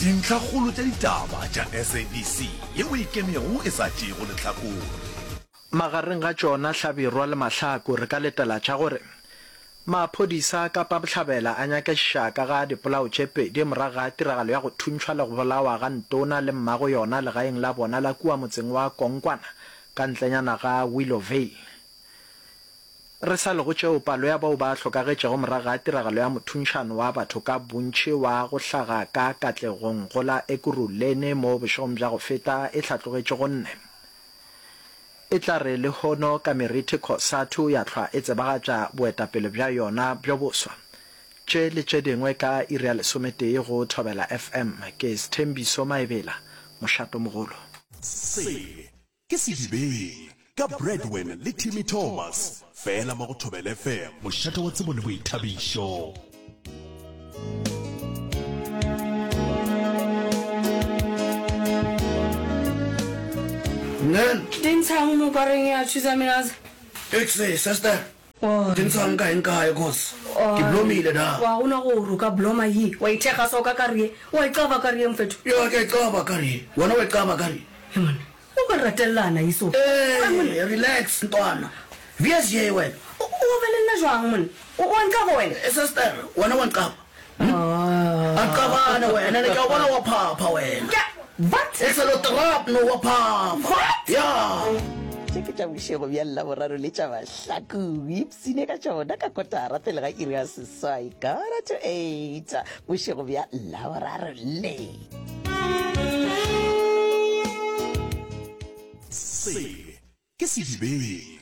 Dintlhakgolo tša ditaba tša SABC yeo e ikemego e sa tšeego lehlakore. Magareng ga tšona Hlabirwa le Mahlaku re ka letela tša gore maphodisa a Kapa Bohlabela a nyakešiša ka ga dipolao tše pedi morago ga tiragalo ya go thuntšhwa le go bolawa ga Ntona le mmago yona legaeng la bona la kua motseng wa Konkwana ka ntlenyana ga Willowvale. Re sa le go tšeo, palo ya bao ba hlokagetšego morago ga tiragalo ya mothunšano wa batho ka bontši wa go hlaga ka Katlegong go la Ekurhuleni mo bošegong bja go feta e hlatlogetše go nne. E tla re lehono ka meriti Cosatu ya hlwa e tsebagatša boetapele bja yona bjo boswa. Tše le tše dingwe ka iri ya lesometee go Thobela FM. Ke Sthembiso Maebela, mošatomogolo. Se ke Sedibeng ka Bradwin le Timmy Thomas, fela mo go Thobela FM, mošate wa tsebo le boithabišo. Nen. Di ntshang mo kareng ya thusa minaza. Ekse, sister. Di ntshang kae nkae cause ke blomile da. Wa gona gore o ka bloma ye. Wa ithekga so ka kare ye. Wa e caba kare ye mfetho. Ya ke a e caba kare ye. Wena wa e caba kare ye. He monna. O ka ratellana ye so. Ee, relax ntwana. Vies ye wena. O be le nna jwang monna? O wa nqaba wena? Sister, wena wa nqaba. A nqabane wena, ene ke a o bona wa phapha wena. Ke what? Excelo trap no wa phapha. What? Yeah. Tše ke tša bošego bja Laboraro le tša Mahlaku. Ipsine ka tšona ka kotara pele ga iri ya seswai, quarter to eight, bošego bja Laboraro le. Se ke Sedibeng.